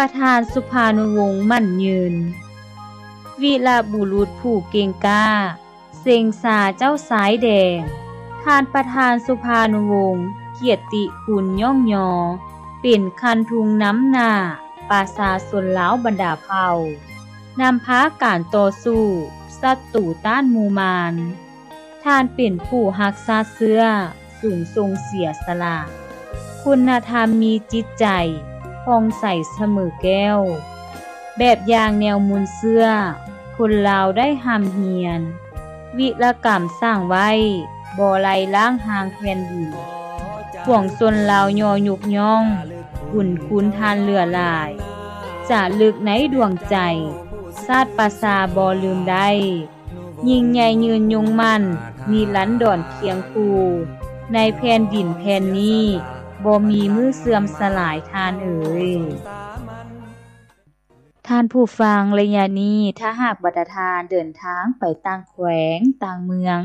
ປະທານສຸພານຸວົງໝັ້ນຍືນ ວີລະບຸລຸດຜູ້ເກັ່ງກ້າ ເສັງຊາເຈົ້າຊາຍແດງ. ທ່ານປະທານສຸພານຸວົງ ກຽດຕິຄຸນຍ້ອງຍໍ ເປັນຄັນທຸງນຳໜ້າປະຊາຊົນລາວບັນດາເຜົ່າ ນຳພາການຕໍ່ສູ້ສັດຕູຕ້ານໝູ່ມານ. ທ່ານເປັນຜູ້ຮັກຊາດເຊື້ອ ສູງສົ່ງເສຍສະຫຼະ ຄຸນນະທຳມີຈິດໃຈຜ່ອງໃສສະເໝີແກ້ວ ແບບຢ່າງແນວມູນເຊື້ອ ຄົນລາວໄດ້ຮ່ຳຮຽນ ວິລະກຳສ້າງໄວ້ ບໍ່ໄລລ້າງຫ່າງແຜ່ນດິນ ປວງຊົນລາວຍໍຍົກຍ້ອງ ບຸນຄຸນທ່ານເຫຼືອຫຼາຍ ຈາລຶກໃນດວງໃຈ ຊາດປະຊາບໍ່ລືມໄດ້. ຍິ່ງໃຫຍ່ຍືນຍົງໝັ້ນ ນິລັນດອນຄຽງຄູ່ ໃນແຜ່ນດິນແຜ່ນນີ້ ບໍ່ມີມື້ເສື່ອມສະຫຼາຍທ່ານເອີຍ. ທ່ານຜູ້ຟັງ, ໄລຍະນີ້ ຖ້າຫາກບັນດາທ່ານເດີນທາງໄປຕ່າງແຂວງ, ຕ່າງເມືອງ,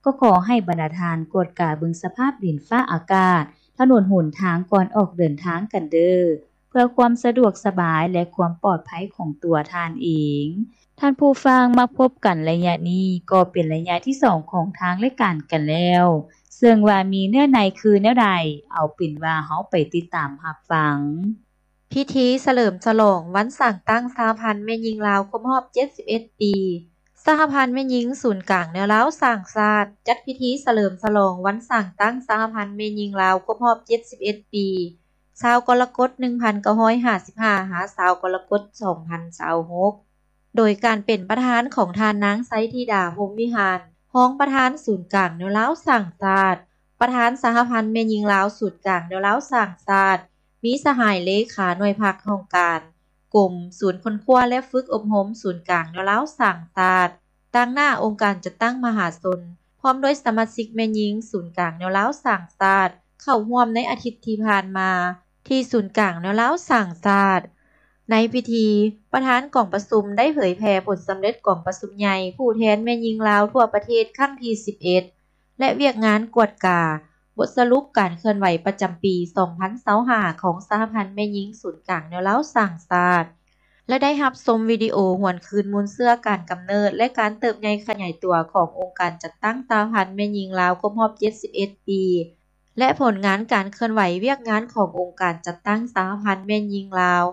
ກໍຂໍໃຫ້ບັນດາທ່ານກວດກາເບິ່ງສະພາບດິນຟ້າອາກາດ, ຖະໜົນຫົນທາງກ່ອນອອກເດີນທາງກັນເດີ້. ເພື່ອຄວາມສະດວກສະບາຍ ແລະ ຄວາມປອດໄພຂອງຕົວທ່ານເອງ. ທ່ານຜູ້ຟັງ, ມາພົບກັນໄລຍະນີ້ກໍເປັນໄລຍະທີສອງຂອງທາງລາຍການກັນແລ້ວ, ເຊິ່ງວ່າມີເນື້ອໃນຄືແນວໃດ, ເອົາເປັນວ່າເຮົາໄປຕິດຕາມຮັບຟັງ. ພິທີສະເຫຼີມສະຫຼອງວັນສ້າງຕັ້ງສະຫະພັນແມ່ຍິງລາວຄົບຮອບເຈັດສິບເອັດປີ. ສະຫະພັນແມ່ຍິງສູນກາງແນວລາວສ້າງຊາດ ຈັດພິທີສະເຫຼີມສະຫຼອງວັນສ້າງຕັ້ງສະຫະພັນແມ່ຍິງລາວຄົບຮອບເຈັດສິບເອັດປີ. ຊາວກໍລະກົດ ໜຶ່ງພັນເກົ້າຮ້ອຍຫ້າສິບຫ້າ ຫາ ຊາວກໍລະກົດ ສອງພັນຊາວຫົກ ໂດຍການເປັນປະທານຂອງທ່ານນາງ ໄຊທິດາ ພົມວິຫານ ຮອງປະທານສູນກາງແນວລາວສ້າງຊາດ, ປະທານສະຫະພັນແມ່ຍິງລາວສູນກາງແນວລາວສ້າງຊາດ, ມີສະຫາຍເລຂາໜ່ວຍພັກຫ້ອງການ, ກົມ, ສູນຄົ້ນຄວ້າ ແລະ ຝຶກອົບຮົມສູນກາງແນວລາວສ້າງຊາດ, ຕາງໜ້າອົງການຈັດຕັ້ງມະຫາຊົນ ພ້ອມດ້ວຍສະມາຊິກແມ່ຍິງສູນກາງແນວລາວສ້າງຊາດ ເຂົ້າຮ່ວມໃນອາທິດທີ່ຜ່ານມາ ທີ່ສູນກາງແນວລາວສ້າງຊາດ. ໃນພິທີ, ປະທານກອງປະຊຸມໄດ້ເຜີຍແຜ່ຜົນສຳເລັດກອງປະຊຸມໃຫຍ່ຜູ້ແທນແມ່ຍິງລາວທົ່ວປະເທດຄັ້ງທີສິບເອັດ ແລະ ວຽກງານກວດກາ ບົດສະຫຼຸບການເຄື່ອນໄຫວປະຈຳປີສອງພັນຊາວຫ້າ ຂອງສະຫະພັນແມ່ຍິງສູນກາງແນວລາວສ້າງຊາດ ແລະ ໄດ້ຮັບຊົມວິດີໂອຫວນຄືນມູນເຊື້ອການກຳເນີດ ແລະ ການເຕີບໃຫຍ່ຂະຫຍາຍຕົວຂອງອົງການຈັດຕັ້ງສະຫະພັນແມ່ຍິງລາວຄົບຮອບເຈັດສິບເອັດປີ ແລະ ຜົນງານການເຄື່ອນໄຫວວຽກງານຂອງອົງການຈັດຕັ້ງສະຫະພັນແມ່ຍິງລາວ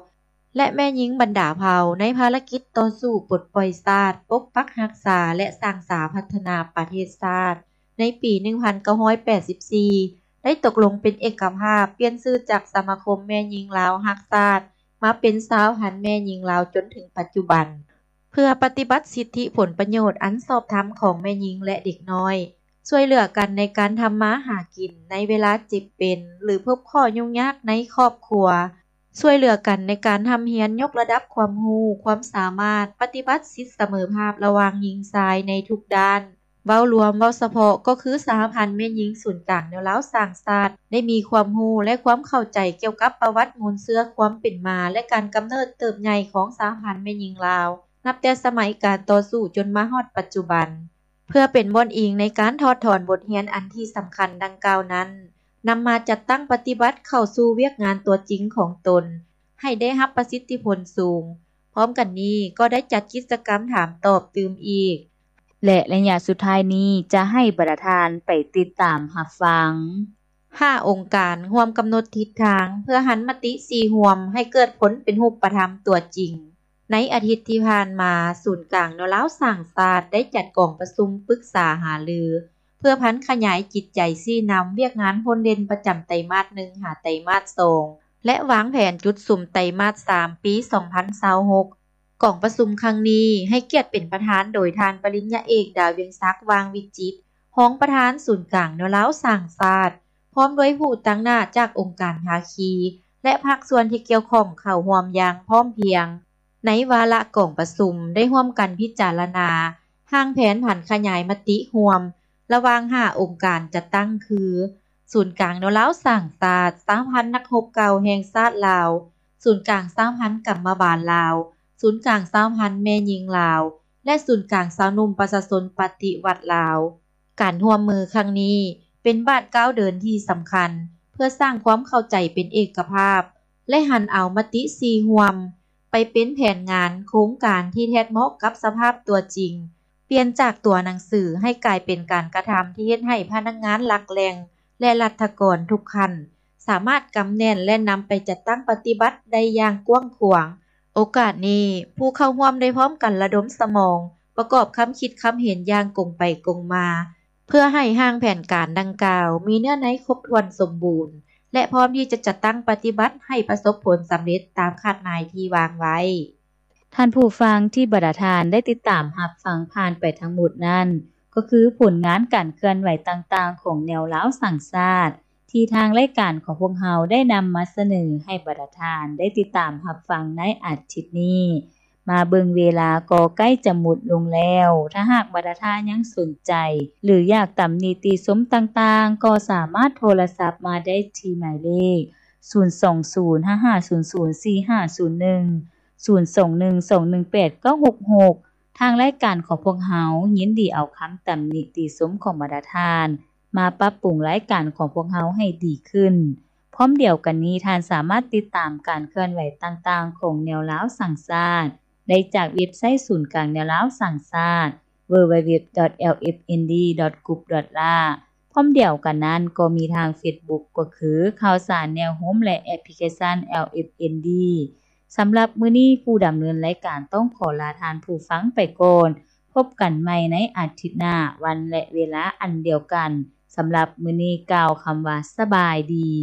ແລະ ແມ່ຍິງບັນດາເຜົ່າ ໃນພາລະກິດຕໍ່ສູ້ປົດປ່ອຍຊາດ, ປົກປັກຮັກສາ ແລະ ສ້າງສາພັດທະນາປະເທດຊາດ ໃນປີໜຶ່ງພັນເກົ້າຮ້ອຍແປດສິບສີ່ ໄດ້ຕົກລົງເປັນເອກະພາບປ່ຽນຊື່ຈາກສະມາຄົມແມ່ຍິງລາວຮັກຊາດ ມາເປັນສະຫະພັນແມ່ຍິງລາວຈົນເຖິງປັດຈຸບັນ. ເພື່ອປະຕິບັດສິດທິຜົນປະໂຫຍດອັນຊອບທຳຂອງແມ່ຍິງ ແລະ ເດັກນ້ອຍ, ຊ່ວຍເຫຼືອກັນໃນການທຳມາຫາກິນໃນເວລາເຈັບເປັນ ຫຼື ພົບຂໍ້ຫຍຸ້ງຍາກໃນຄອບຄົວ, ຊ່ວຍເຫຼືອກັນໃນການຮ່ຳຮຽນຍົກລະດັບຄວາມຮູ້, ຄວາມສາມາດ, ປະຕິບັດສິດສະເໝີພາບລະຫວ່າງຍິງຊາຍໃນທຸກດ້ານ. ເວົ້າລວມ, ເວົ້າສະເພາະ ກໍຄືສະຫະພັນແມ່ຍິງສູນກາງແນວລາວສ້າງຊາດ ໄດ້ມີຄວາມຮູ້ ແລະ ຄວາມເຂົ້າໃຈກ່ຽວກັບປະຫວັດມູນເຊື້ອຄວາມເປັນມາ ແລະ ການກຳເນີດເຕີບໃຫຍ່ຂອງສະຫະພັນແມ່ຍິງລາວ ນັບແຕ່ສະໄໝການຕໍ່ສູ້ຈົນມາຮອດປັດຈຸບັນ. ເພື່ອເປັນບ່ອນອີງໃນການຖອດຖອນບົດຮຽນອັນທີ່ສຳຄັນດັ່ງກ່າວນັ້ນ, ນຳມາຈັດຕັ້ງປະຕິບັດເຂົ້າສູ່ວຽກງານຕົວຈິງຂອງຕົນ ໃຫ້ໄດ້ຮັບປະສິດທິຜົນສູງ. ພ້ອມກັນນີ້ກໍໄດ້ຈັດກິດຈະກຳຖາມຕອບຕື່ມອີກ ແລະ ໄລຍະສຸດທ້າຍນີ້ຈະໃຫ້ບັນດາທ່ານໄປຕິດຕາມຮັບຟັງ. ຫ້າອົງການຮ່ວມກຳນົດທິດທາງເພື່ອຫັນມະຕິສີ່ຮ່ວມໃຫ້ເກີດຜົນເປັນຮູບປະທຳຕົວຈິງ. ໃນອາທິດທີ່ຜ່ານມາ, ສູນກາງແນວລາວສ້າງຊາດໄດ້ຈັດກອງປະຊຸມປຶກສາຫາລື ເພື່ອຜັນຂະຫຍາຍຈິດໃຈຊີ້ນຳວຽກງານພົ້ນເດັ່ນປະຈຳໄຕມາດໜຶ່ງ ຫາໄຕມາດສອງ ແລະ ວາງແຜນຈຸດສຸມໄຕມາດສາມ ປີສອງພັນຊາວຫົກ. ກອງປະຊຸມຄັ້ງນີ້ໃຫ້ກຽດເປັນປະທານໂດຍທ່ານປະລິນຍາເອກ ດາວຽງສັກ ຫວ່າງວິຈິດ ຮອງປະທານສູນກາງແນວລາວສ້າງຊາດ ພ້ອມດ້ວຍຜູ້ຕາງໜ້າຈາກອົງການພາຄີ ແລະ ພາກສ່ວນທີ່ກ່ຽວຂ້ອງເຂົ້າຮ່ວມຢ່າງພ້ອມພຽງ. ໃນວາລະກອງປະຊຸມໄດ້ຮ່ວມກັນພິຈາລະນາຮ່າງແຜນຜັນຂະຫຍາຍມະຕິຮ່ວມ ລະຫວ່າງຫ້າອົງການຈັດຕັ້ງຄື ສູນກາງແນວລາວສ້າງຊາດ, ສະຫະພັນນັກຮົບເກົ່າແຫ່ງຊາດລາວ, ສູນກາງສະຫະພັນກຳມະບານລາວ, ສູນກາງສະຫະພັນແມ່ຍິງລາວ ແລະ ສູນກາງຊາວໜຸ່ມປະຊາຊົນປະຕິວັດລາວ. ການຮ່ວມມືຄັ້ງນີ້ເປັນບາດກ້າວເດີນທີ່ສຳຄັນ ເພື່ອສ້າງຄວາມເຂົ້າໃຈເປັນເອກະພາບ ແລະຫັນເອົາມະຕິສີ່ຮ່ວມ ໄປເປັນແຜນງານໂຄງການທີ່ແທດເໝາະກັບສະພາບຕົວຈິງ, ປ່ຽນຈາກຕົວໜັງສືໃຫ້ກາຍເປັນການກະທຳທີ່ເຮັດໃຫ້ພະນັກງານຫຼັກແຫຼ່ງ ແລະລັດຖະກອນທຸກຂັ້ນ ສາມາດກຳແໜ້ນ ແລະນຳໄປຈັດຕັ້ງປະຕິບັດໄດ້ຢ່າງກວ້າງຂວາງ. ໂອກາດນີ້, ຜູ້ເຂົ້າຮ່ວມໄດ້ພ້ອມກັນລະດົມສະໝອງ, ປະກອບຄຳຄິດຄຳເຫັນຢ່າງກົງໄປກົງມາ, ເພື່ອໃຫ້ຮ່າງແຜນການດັ່ງກ່າວມີເນື້ອໃນຄົບຖ້ວນສົມບູນ ແລະ ພ້ອມທີ່ຈະຈັດຕັ້ງປະຕິບັດໃຫ້ປະສົບຜົນສຳເລັດຕາມຄາດໝາຍທີ່ວາງໄວ້. ທ່ານຜູ້ຟັງທີ່ບັນດາທ່ານໄດ້ຕິດຕາມຮັບຟັງຜ່ານໄປທັງໝົດນັ້ນ, ກໍຄືຜົນງານການເຄື່ອນໄຫວຕ່າງໆຂອງແນວລາວສ້າງຊາດ ທີ່ທາງລາຍການຂອງພວກເຮົາໄດ້ນຳມາສະເໜີໃຫ້ບັນດາທ່ານໄດ້ຕິດຕາມຮັບຟັງໃນອາທິດນີ້. ມາເບິ່ງເວລາກໍໃກ້ຈະໝົດລົງແລ້ວ. ຖ້າຫາກບັນດາທ່ານຍັງສົນໃຈ ຫຼື ຢາກຕຳໜິຕິຊົມຕ່າງໆ, ກໍສາມາດໂທລະສັບມາໄດ້ທີ່ໝາຍເລກ ສູນສອງສູນ ຫ້າຫ້າສູນສູນ ສີ່ຫ້າສູນໜຶ່ງ, ສູນສອງໜຶ່ງສອງໜຶ່ງແປດເກົ້າຫົກຫົກ. ທາງລາຍການຂອງພວກເຮົາຍິນດີເອົາຄຳຕຳໜິຕິຊົມຂອງບັນດາທ່ານ ມາປັບປຸງລາຍການຂອງພວກເຮົາໃຫ້ດີຂຶ້ນ. ພ້ອມດຽວກັນນີ້, ທ່ານສາມາດຕິດຕາມການເຄື່ອນໄຫວຕ່າງໆຂອງແນວລາວສ້າງຊາດ ໄດ້ຈາກເວັບໄຊສູນກາງແນວລາວສ້າງຊາດ www.lfnd.group.la. ພ້ອມດຽວກັນນັ້ນ, ກໍມີທາງເຟສບຸກ ກໍຄືຂ່າວສານແນວໂຮມ ແລະ ແອັບພລິເຄຊັນ LFND. ສຳລັບມື້ນີ້, ຜູ້ດຳເນີນລາຍການຕ້ອງຂໍລາທ່ານຜູ້ຟັງໄປກ່ອນ. ພົບກັນໃໝ່ໃນອາທິດໜ້າ, ວັນ ແລະ ເວລາອັນດຽວກັນ. ສຳລັບມື້ນີ້, ກ່າວຄຳວ່າສະບາຍດີ.